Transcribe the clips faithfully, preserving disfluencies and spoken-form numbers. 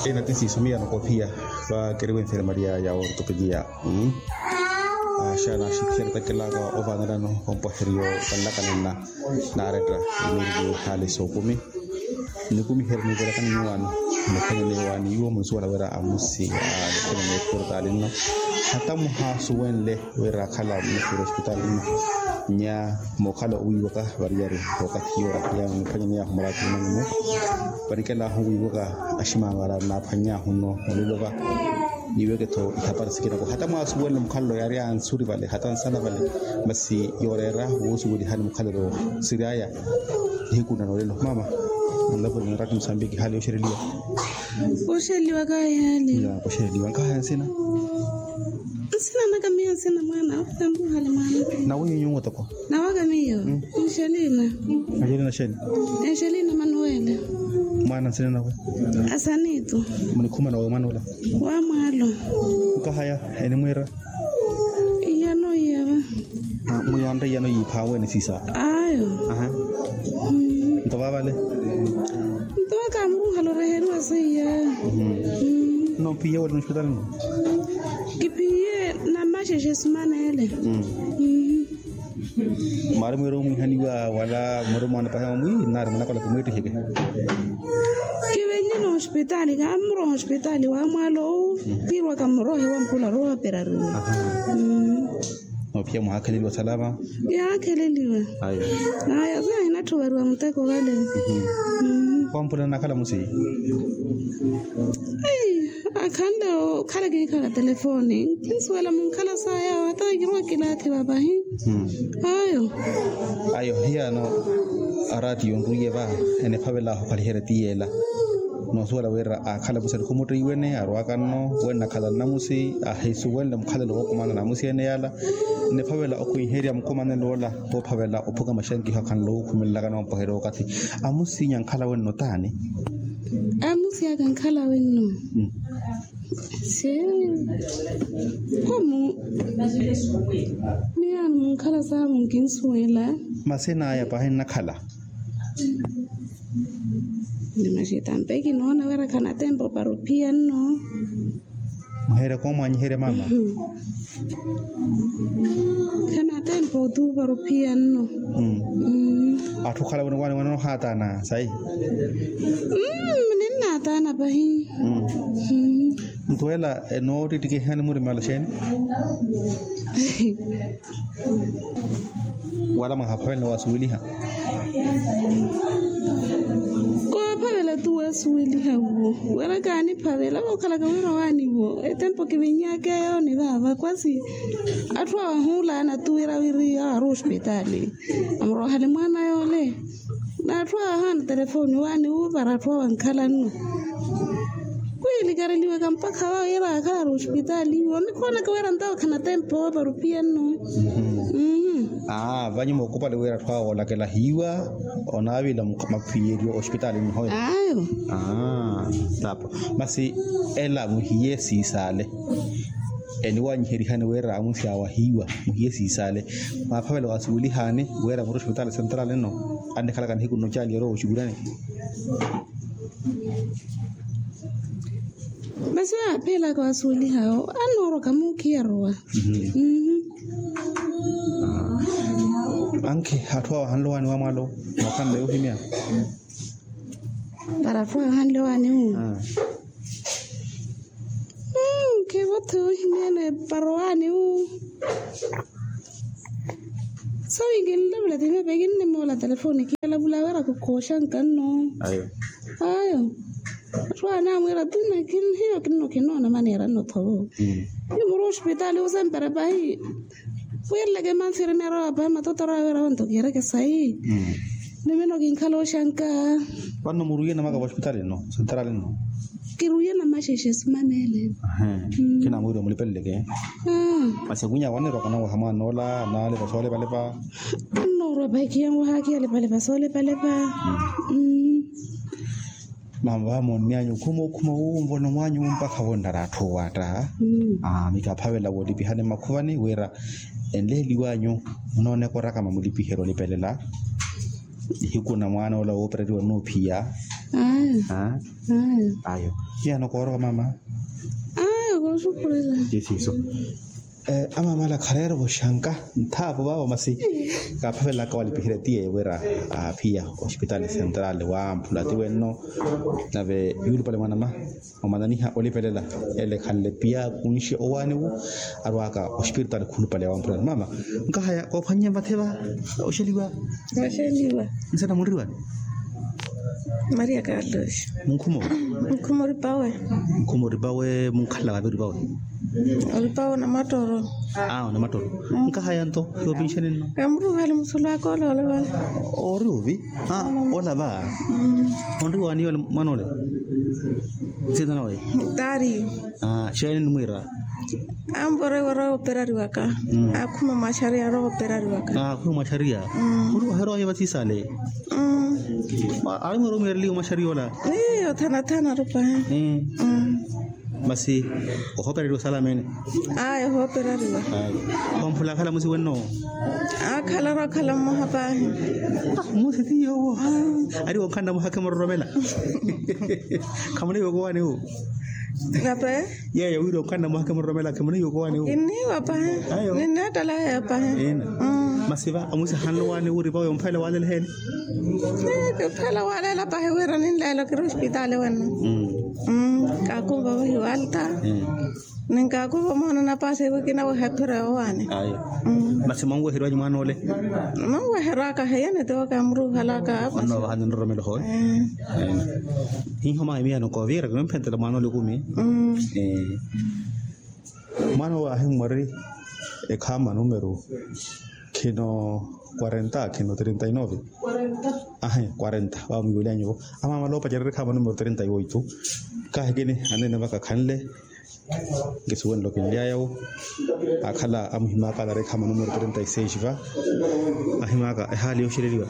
Ena ti siiso miya nokophiya. Vakeriwe nferemariya ya ortopedia. Axana axikhiya nitakelaka ovaanelano ompwaheriyo vanlakanenna. Naaretta iniiriliwe hali sookumi. Nikumiherya niivelakani nyuwaani. Niphwanyeni waani iwo munsuwela wira amusi a niphwanyeni eportali nno. Hata muhaasuwenle wira akhala mmukhuru ospitali nno. Nya mookhala owiiwaka variyari. Okathi yoora ya niphwanyeni yaahu muraati mwanyu mu. Varikelahu wiiwaka aximamara naaphwany'ahu nno olelo va. Niiweke-tho ihapari sikinako hata mwaasuwenle mukhalelo yaari ansuri vale hata nsana vale. Masi yooreera woosuwelihani mukhalelo siriyaya. Nihiku nna noolelo mama. Nlapwene nraati musambiki hali yoxereliwa. Oxereliwa kahi hali. Oxereliwa nkahaya nsina. Nsina naka miyo nsina mwaana. Tambuhale mwaana. Nawe nyunyu otoko. Nawaka miyo. Angelina. Angelina sheni. Angelina manuwela. Mwaana nsina nawe. Asanitu. Munikhuma nawe mwaana ola. Wa mwaalo. Nkahaya enimwiira. Iyano iyava. Muyanre iyano yiiphawe ni sisa. Ayo. Nto vavale. Nto waka muruhalo reheriwa seiya. Nophiye wali nospitali no. Kiphiye namaxexe simanele. Mari mwiro mwihaniwa wala mwiro mwana pahe omwi nari mwana kola kumwitihike. Kivenyene ospitali kamuroha ospitali wa mwalo. Pirwa kamurohe wa mpula roha perarina. Opia mwakheleliwa salama. Yakheleliwa. Ayo. Aya sa hinatthu variwa muteko vale. Wa mpula nakhala musi. Akhanle okhala kiikhala telefoni nkinsuwela munkhala sayawo hata kirowa kilaathi vapahi. Ayo. Ayo hiyano. Araati yonruiye va enephavela okhaliherya ti yeela. Noosuwela wira akhala musi alikhumuttiwene arwaka nno wenna akhala nnamusi ahisuwenle mukhalelo wookumana namusi ene yaala. Enephavela okhwiherya mukumanelo ola woophavela ophuka maxankiho akhanle owukhumelelaka noompwaherya okathi. Amusinya nkhala wenno taani. Amusi aka nkhala wenno. Sii. Komu. Miyaani munkhala saamu nkinsuwela. Masinaya pahi nnakhala. Ni maxitampeki noona wira khanatempo para ophiya nno. Muheerya koomwanyiherya mama. Khanatempo tu para ophiya nno. Atthu okhala wene waani wene ohaatana sayi. Ninnaatana pahi. Nto ela enoottittike ehani murimala xeeni. Wala mwahaphavela wasuweliha. Koophavela tu wasuweliha wo wira kaaniphavela vookhalaka wira waani wo etempo kivinyakeyo ni vaava kwasi. Atthu awahuulana tu wira wiri awaari ospitali. Amurohale mwaana yoole. N'atthu ahaana telefoni waani wu para atthu awankhala nno. Kwiilikareliwaka mpakha wawo yira akhala ari ospitali iwo nikhoonaka wira ntawo khana tempo para ophiya nno. Aa vanyu mookupali wira atthu awo oolakela hiiwa onaavila maphiyeriwa ospitali nno hoyo. Ayo. Aa. Tapo. Masi ela muhiye siisaale. Eniwanyiherihani wira amusi awo ahiiwa muhiye siisaale. Mwaaphavela wasuwelihani wira muri ospitali sentrali nno. Annikhalaka nihiku nno caali yarowa oxukurani. Masi waaphelaka wasuwelihawo annooroka muukhiya arowa. Ankhi atthu awo ahanle owaani wa mwaalo. Mwaakhanle ohimya. Para atthu ahanle owaani wu. Khivotthe ohimyene para owaani wu. Sawi kinlavula timepe kinnimoola telefoni kilavula wira kukhooxanka nno. Ayo. Atthu awo anaamwiira tu hiyo kinno kinoona maneera nno thovo. Ni muri ospitali osempera pahi. Wiireleke manfirmeera wa pahi matotoro awe rawa nto kiireke sayi. Ni mino kinkhala oxanka. Vanno muruiye namaka vospitali nno sentrali nno. Kiruiye namaxexe simanele. Khinamwiiriwa mulipeleleke. Masi awinya wanirwaka nawaha mwaana ola naalepa soolepalepa. Annoorwa pahi khiyanwaha khiyalepalepa soolepalepa. Mama vamoonny'anyu okhuma okhuma wu nvono mwaanyu mpakha vonrara atthu owatta. Mikaphavela woolipihani mmakhuvani wira enleeliw'anyu munooneka orakama mulipiheryo onipelela. Nihiku na mwaana ola woopereriwa nnoophiya. Ayo. Hiyano koorowa mama. Ayo kooxukhurela. Isiiso. Amamala khareera oxanka nthaapo vaavo masi. Kaaphavelaka walipiherya tiye wira aphiya ospitaali sentrali wamphula ti wenno. Nave yuulupale mwanama omananiha olipelela ele khanle piya kunxi owaani wu. Arwaka ospitaali khulupale wamphula mama. Nkahaya koophwannye mvathe va oxeliwa. Oxeliwa. Nsana munriwani. Maria carlos. Munkhuma wi. Munkhuma oripawe. Munkhuma oripawe munkhala vavi oripawe. Oripawe onamattoro. Aa onamattoro. Nkahaya nto yoopinxeni nno. Kamuruhali musulu aka ole ole vale. Ori ovi. Aa ola va. Onriwani yole mwana ole. Nsina nawe. Tari. Aa xeeni nimwiira. Ampora iwara operariwaka. Akhuma mwaxariya ara operariwaka. Akhuma mwaxariya. Ori waherwaya vatisale. Aari mweera omiireliwa mwaxariya ola. Ee othanathana rupahe. Masi ohoperariwa salamene. Ayo ohoperariwa. Wamphula akhala musi wenno. Akhala rakhala mmoha pahi. Musi tiyowo. Ari wonkhanna muhakhe muroromela. Khamunaiwa okowaani wu. Nape. Yeeyo wira onkhanna mwahake muroromela khimuna iwe okowaani wu. Kinniiwa pahi. Ninneettela yeeyo pahi. Masi va omusi ahanle owaani wu oripawe omphela walele eheeni. Kiphela walela pahi wira ninleela okiri ospitaali wenno. Kaakuva vahi walta. Ninkaakuva omoona napaasi ewe kinaweha ephira yowaani. Masi mwanweheryanyu mwaana ole. Mwanweherwaka heyene tiwo kaamuruuhalaka. Onno vaha ninroromela hoye. Hiho mwa emiyano koovira kinomphenttela mwaana ole ekumi. Mwaana owo ahimmwari ekhaama numero khino quarenta khino treinta y nove. Ahi quarenta vamwiiwelyanyu vo. Amaamala opacererya ekhaama numero treinta y oito. Kahikini aneene vaka khanle. Nkisuwenle okinlyaya wo. Akhala amuhimaka alareekha mwa numero treinta y seis va. Ahimaka ehaali yooxeleliwa.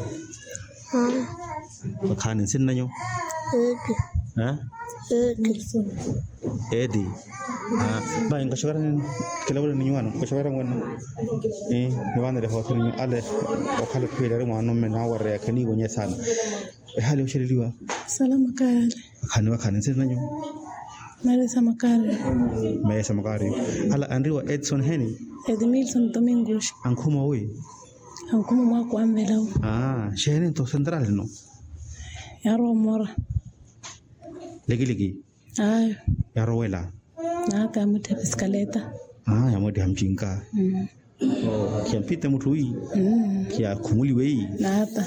Vakhaani nsinnanyu. Eti. Eti. Vai nkaxokera. Kilavula ni nyuwano nkaxokera ngweno. Nivanele hoothene ale. Okhala ekhwiileri mwanumme nawareya kheniiwonye saana. Ehaali yooxeleliwa. Salama kaale. Vakhaani vakhaani nsinnanyu. Mesa makaari. Mesa makaari. Ala anriwa edson heni. Edmilson domingos. Ankhuma wi. Ankhuma mwaku anvela wu. Aa xeeni nto central no. Yarowa omora. Likiliki. Ayo. Yarowela. Naaka yamwitthiha piskaleta. Aa yamwitthiha mcinka. Khiyampite mutthu wi. Khiyakhumuliwe yi. Naata.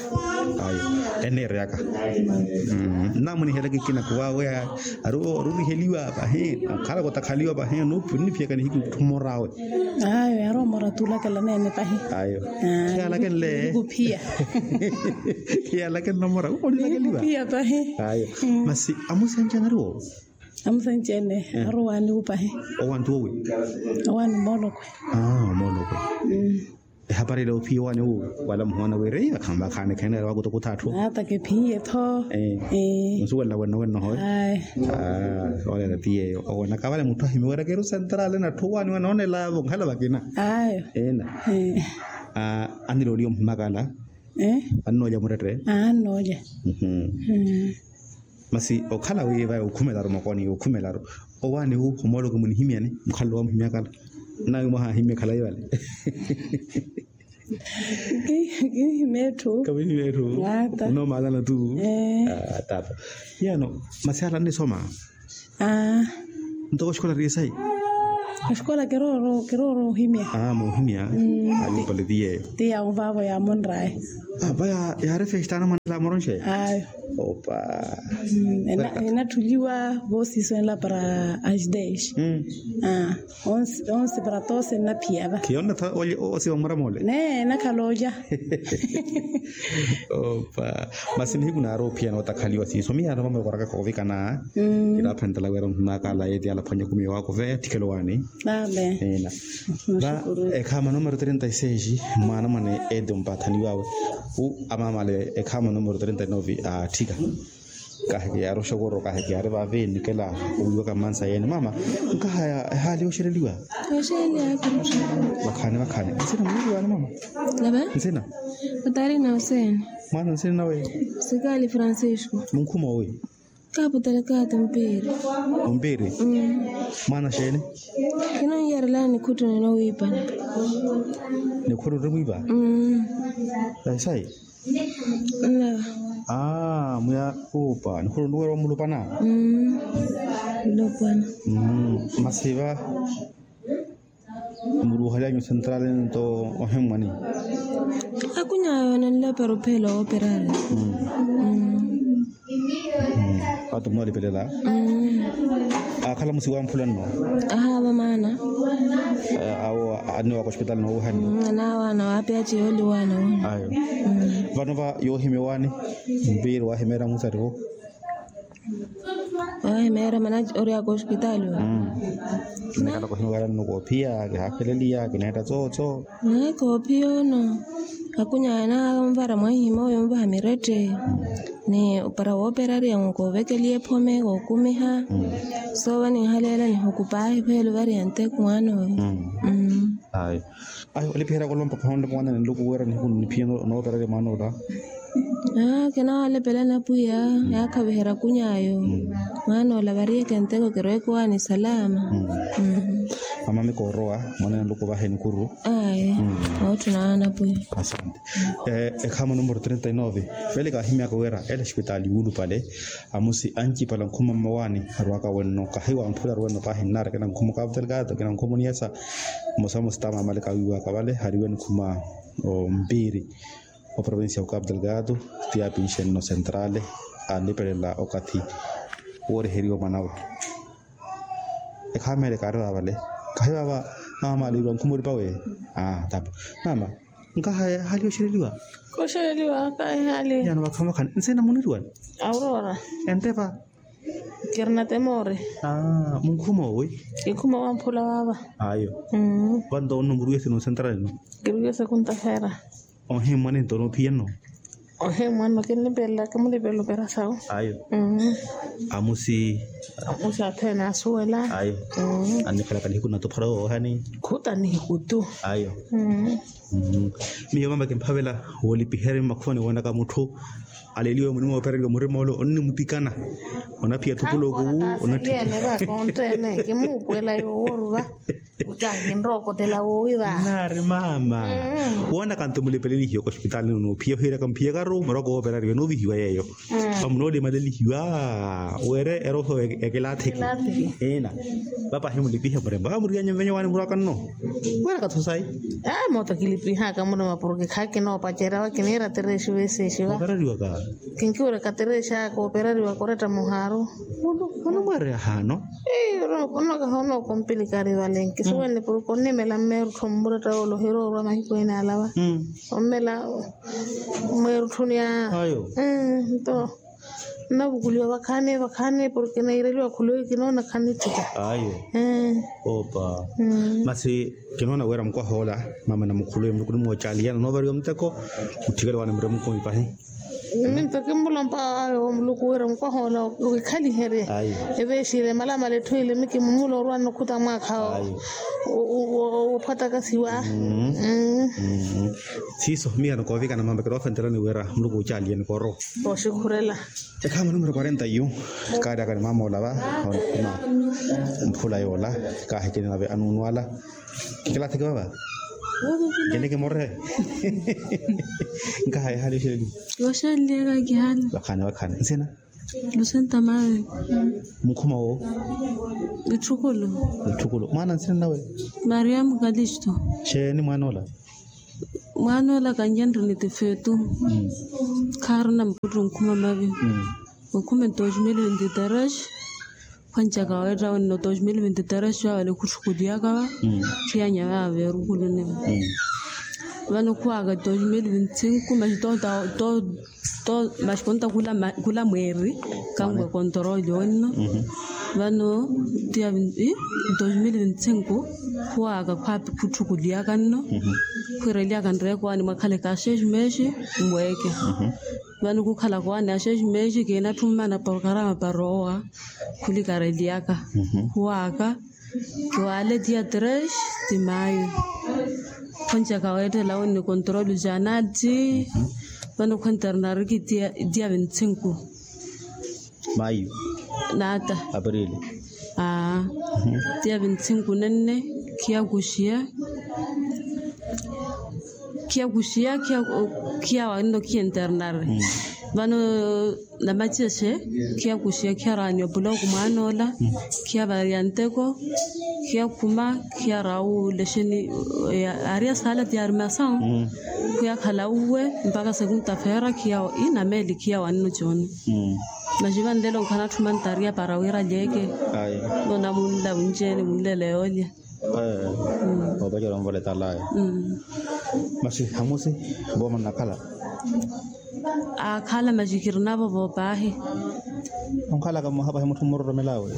Ayo. Enneereyaka. Nnamunihelaka ekina kuwaweya. Ari oruriheliwa pahi. Okhalaka otakhaliwa pahi. Nniphiyaka nihiku tthu mmorawe. Ayo yari omora tuulakela neene pahi. Ayo. Khiyalakenle. Nikuphiya. Khiyalakenle omora. Nikuphiya pahi. Ayo. Masi amusi anci anariwo. Amusi anci ene. Ari owaani wupahi. Owaani tuwowi. Owaani moolokwe. Aa moolokwe. Ehapari ila ophiya owaani wu. Wala muhoona wira iya vakhaani vakhaani kheneera wakutukuttha atthu. Ata kephiye tho. Onsuwelela wenno wenno hoye. Olela ti yeeyo owenaka vale mutthu ahimiwerekeru central na atthu owaani wanoonelavo nkhala vakina. Ayo. Ena. Annilooliya omuhimakala. Annoolya murette. Annoolya. Masi okhala wi vayi okhumelaru mokoni okhumelaru. Owaani wu omooloko munihimyani mukhalelo wamuhimyakala. Nawi mwahahimye khalayi vale. Kihimetthu. Kawihimetthu. Ata. Unoomaalana tu. Tata. Yano masi ala annisoma. Ntoko oxikola ri esayi. Oxikola kirooro kirooro ohimya. Aa moohimya. Ayo pale ti yeeyo. Ti yawo vaavo yaamonraye. Apa yaari festana mwanela amoronxe. Ayo. Opa. Enatthuliwa voosiso enla para as dez. Onse para doze nnaphiya va. Khiyonne tha osiwa mura moole. Neene enakhala olya. Opa. Masi nihiku naari ophiyana otakhaliwa siiso miyaano vamwe kooraka koovikana. Kinaaphenttela wira omuhimakala eti alaphwanya ekumi yowaakuveya tthikelo waani. Ena. Va ekhaama numero treinta y seis. Mwaana mwane eti ompathaniwawe. Wu amaamale ekhaama numero treinta y nove aatthika. Kaheke yaari oxokoro kaheke yaari vaavi enikela owiiwaka mmansa yeene mama. Nkahaya ehaali yooxeleliwa. Vakhaani vakhaani nsina muniriwaani mama. Nsina. Katarina hussein. Mwaana nsina nawe. Sikaali francisco. Munkhuma owi. Kaaputelekaato mpiiri. Ompiiri? Mwaana xeeni? Kinoniyarelani nikhuttu ninowiipana. Nikhuttu nrimwiipa? Sayi sayi. Mwiya. Aa mwiya. Kuupa nikhuttu nriweera omulupana. Mmm. Masi va muruuhalyanyu central nto ohimmwani? Akuny'awe onanlapera ophela wooperari. Atu munoolipelela. Akhala musiwa mphula nno? Ahaava maana. Awo anniwaka ospitali noowihani? Anaawaana waapi aci yooliwaana woono. Ayo. Vano va yoohimya owaani? Mpiiri waahimeera musarivo. Waahimeera mana oryaka ospitali wa? Kinekala kohinuwela nno koophiya kihaafeleliya kineetta tsootsoo. Naye koophiya ono. Akuny'aya naaka onvara mwahihi mooyo onvaha mirette. Ni para wooperariya nkoovekelya ephome kookumiha. Soova ninhaleela nihukupa ahi pheelo variya nteku mwaana oyo. Ayo. Ayo olipiherya kolompa pahonle mwaana ni nluku wira nihiku niphiya noopererya mwaana ola. Aa kinawalepelani apwiya. Yaakhaviherya kuny'ayo. Mwaana ola variyeke nteko kirweeke owaani salama. Mama mikoorowa mwaana ni nluku vahe nikuru. Ayo. Ootthuna waana apwiya. Asante. Ekhaamo numero trenta y nove. Vele kaahimyaka wira ele ospitaali yuulupale. Amusi ancipala nkhuma mmawaani arwaka wenno kahiwa mphula arwenno paahi nnaari akina nkhuma okapu telekaato akina nkhuma oniyasa. Mmosa mmosa taamaamale kawiiwaka vale hariwe nikhuma ompiiri. Oprovincia okapu telekaato. Ti aapinxe nno sentrale aalipelela okathi wooriheriwa mwanawe. Ekhaamele kaari vaavale. Kahivaava. Maama aliiriwa nkhuma oripa weye. Aa tapa. Maama. Nkahaye hali oxereliwa? Koxereliwa kahihaali. Yano vakhani vakhani nsina muniriwani? Aurora. Entepa. Kirina temore. Munkhuma owi? Ikhuma wamphula waava. Ayo. Vanto onno muriwese nosentrale no? Kiriwese kuntafera. Ohimmwa ninto noophiya nno? Ohimmwa nno kinlipelelaka mulipelo operasawu. Ayo. Amusi? Amusi athene asuwela. Ayo. Annikhalaka nihiku natophara woohani? Khuta nihiku tu. Ayo. Miyo mama kimphavela woolipiherya mmakhuvani woonaka mutthu aleliwe munimo woopereriwa murima ole onnimutikana. Onaphiya thupuloku. Onatthikiyene vakonttene kimuupuwela yooworuva. Ucahi nrookotela woowi va? Naari mama. Woonaka nto mulipelelihiwe kospitali nno noophiya ohiiraka mphiyakaru muroko woopereriwa noovihiwa yeeyo. Pamunoolimalelihiwa were eroho ya kilaathiki. Ina. Vapahi mulipihe murembo amuriyanyu mvenye waani muraka nno? Wera katho sayi. Moota kilipihaka murembo porke khakinoopacerya wa kiniira tereexiwe seexiwa. Opereriwaka? Kinkiwerya katereexaka opereriwaka oretta muhaaru. Onumwereya haano? Onookompilika ari vale nkisuwenle porke onnimela mmeeruttho mmuretta wooloherya orwa mahiku ene alava. Ommela mweerutthuni a ayo. Nto nnavukuliwa vakhaani vakhaani porke naireliwa khuluwi kinoona khanitthika. Ayo. Opa. Masi kinoona wira mukwahoola mama namukhuluwi muluku nimoocaaliya nonovariwa muteko. Mutthikale waani muremukumi pahi. Minto kimmulompa ayo muluku wira mukwahoola okikhaliherye. Eveexile malamala etthu ile mikimumula orwa nokhuta mwaakha. Woophatakasiwa. Siiso miya nokoovikana mama kiroofentelani wira muluku ocaaliye nikooro. Oxikhurela. Ekhaama numero quarenta yu. Kaaryaka ni mama olava. Onkhuma mphula yoola. Kaahikini nave anuunu ala. Kikalatheke vava. Nkeneke morre. Nkahaye hali oxeleliwa? Oxeleliwa kihali. Vakhani vakhani nsina? Lusenta mawe. Mukhuma wo? Itthukulu. Itthukulu mwaana nsina nawe? Maria mukalisto. Xeeni mwaana ola? Mwaana ola kanjenre ni tifeetu. Khaarina mputtu nkhuma mavi. Okhume dos mil vinte tres. Khwanjaka weetta wenno dos mil vinte tres wavale khutthukuliyaka va. Khiyanya vava veerukuluniva. Vano khuwaka dos mil vinte cinco maxi to to to maxi konta khula mweeri. Kanwe kontoroli wenno. Vano tiya dos mil vinte cinco khuwaka khwapi khutthukuliyaka nno. Khwiireliyaka nreeko waani mwakhaleka seis mesi. Mweeke. Vano khukhalaka owaani a seis mesi kiinatthi ommana porokarama para owa. Khulikareliyaka khuwaaka. Kiwaale tiya tres ti mayo. Khonjaka weettela wini control janati. Vano khwenternariki tiya vintsinku. Mayu. Naata. Aprili. Aa. Tiya vintsinku nenne. Khiyakuxiya. Khiyakuxiya khiyawa nno khiyenternari. Vano namacexe. Khiyakuxiya khiyaraani opuloko mwaan'ola. Khiyavariya nteko. Khiyakhuma. Khiyarawu lexeni. Aari asaala tiyari masawu. Khuyakhala uwe mpakha sekunta feera khiyawa inameeli khiyawa nno cooni. Maxi vanlelo nkhanatthuma ntariya para wira lyeeke. Nona munla winceeni munlelo yoolya. Opacela onvola etalaya. Maxi hamusi vooma nnakhala. Akhala maxi kirinavo voopaahi. Onkhalaka mmoha pahi mutthu mmuroromelawe.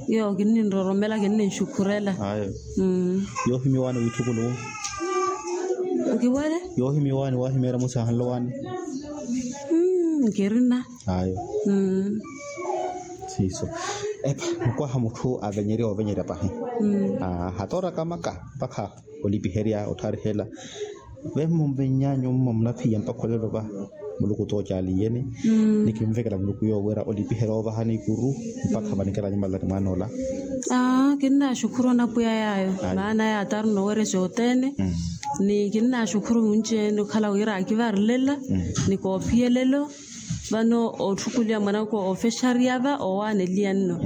Yoo kinninroromela kinninxukhurela. Yoohimiwaani wiitthukulu. Nkiwele. Yoohimiwaani waahimiyera musi ahanlowaani. Nkirina. Ayo. Siiso. Epa mukwaha mutthu avenyerya ovenyerya pahi. Hatooraka maka mpakha olipiherya ottharihela. Vemmo mvenyanyu mmo munaphiya mpakha olelo va. Muluku toocaali iyeni. Ni kinvekela muluku yoowo wira olipiherya oovahani ikuru mpakha vanikela nyumalani mwaan'ola. Kinnaxukhuru anapweya yaayo maana yaataru noowerya xoothene. Ni kinnaxukhuru munci-ene okhala wira akivarilela ni koophiyelelo. Vano otthukuliwa mwanaka ofexariya va owaaneliya nno.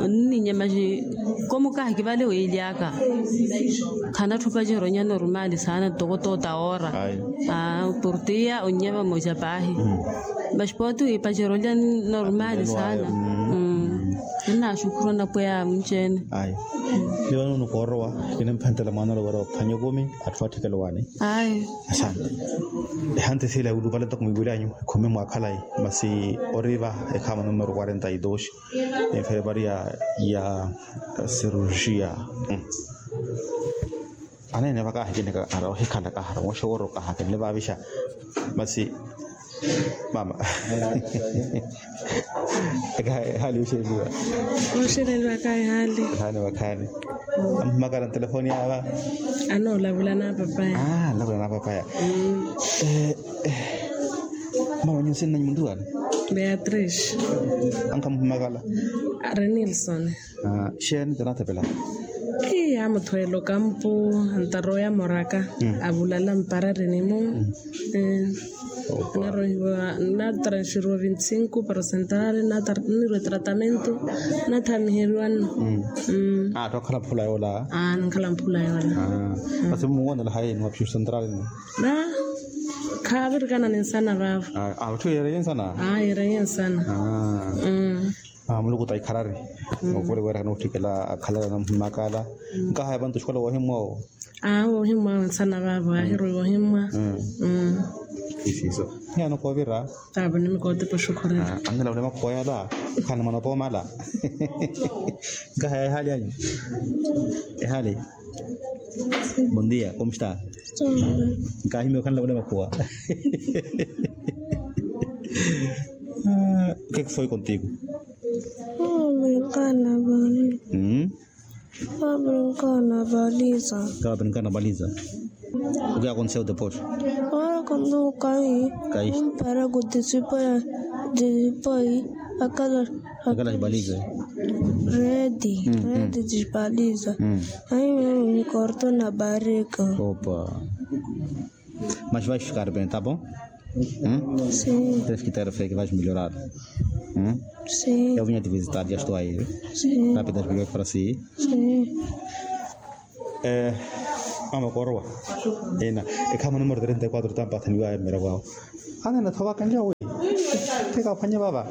Onninyamaxi komukaha kivale wiilyaka. Khanatthi opacerya onyana orumaali saana ntoko toota oora. Portiya onnya vamoja paahi. Maxi pooti wiipacerya olya nno orumaali saana. Kinnaxukhuru anapweya munci-ene. Ni vano nukoorowa kinimphenttela mwaan'ola wira ophwanya ekumi atthu atthikela owaani. Ayo. Asante. Ehantisi ila yulupale toko mwiiwilyanyu ekhumi mwa khalayi masi oriva ekhama numero quarenta y dos. Enfermaria ya cirurgia. Aneene vakahi kinikahara ohikhalakaha mooxeworokahaka nle vaavixa. Masi mama. Ehali oxeleliwa. Oxeleliwa kahi hali. Ehali vakhani. Amhumakala ntelefoni yava. Anoolavula na papaya. Lavula na papaya. Mama nyusi nnanyi muntuwani? Beatrice. Ankhamhumakala? Ari nilson. Xeeni tanathepela? Ii amuthweela okampu. Antaroya moraka. Avulala mpararini mu. Narohiwa natransferiwa vinti cinco para central. Nirwe tratamento. Nathamiheriwa nno. Atthu akhala mphula yoola? Ninkhala mphula yoola. Masi mmuwonela hayi niwaphiwa central nno? Khavirikana ninsana vaavo. Atthu yeereye nsana? Yeereye nsana. Muluku ta ikharari. Ovole weeraka nootthikela akhalala namhumakala. Nkahaya vantu oxikola woohimmwa owo? Woohimmwa awe nsana vaavo aahirwe woohimmwa. Isiso. Hiyano koovira? Taavo nimikootipa oxukhurela. Annilavula makhuwa yala. Khani mwana opoomala. Nkahaya ehali anyu? Ehali. Bondia komsta? Nkahimiya okhanlavula makhuwa. Kekifoi kontiku? Kawa brinkana baliza. Kawa brinkana baliza. Okiya konse o deporte. Ora kondukayi. Kayi. Para kutisipa ya disipoi. Akala baliza. Redi redi disipaliza. Ayi mimi nikorto na barika. Opa. Mas vais ficar bem, tá bom? Tens que ter fé que vais melhorar. Eu vinha te visitar, já estou aí. Rápidas melhores para si. Mama korowa. Ena ekhama numero trenta y quatro tampathaniwa emera vao. Anena thovaka njawi. Teka phwanya vava.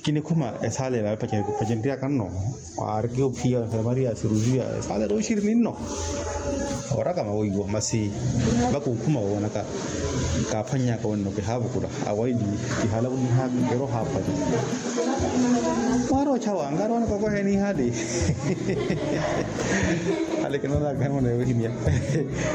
Kinikhuma esaala ela epacenriyaka nno. Aari kiophiya enfermaria ya cirurgia esaala ela oxirini nno. Oraka mawoiwa masi vakuukhuma woonaka. Kaaphwanyaka wenno kihaavukula awaili. Kihaalakunihaka kirohaaphwanya. Mwaari ochawa nkaari wanaka okoheni ihali. Hale kinonaka hemona yohimya.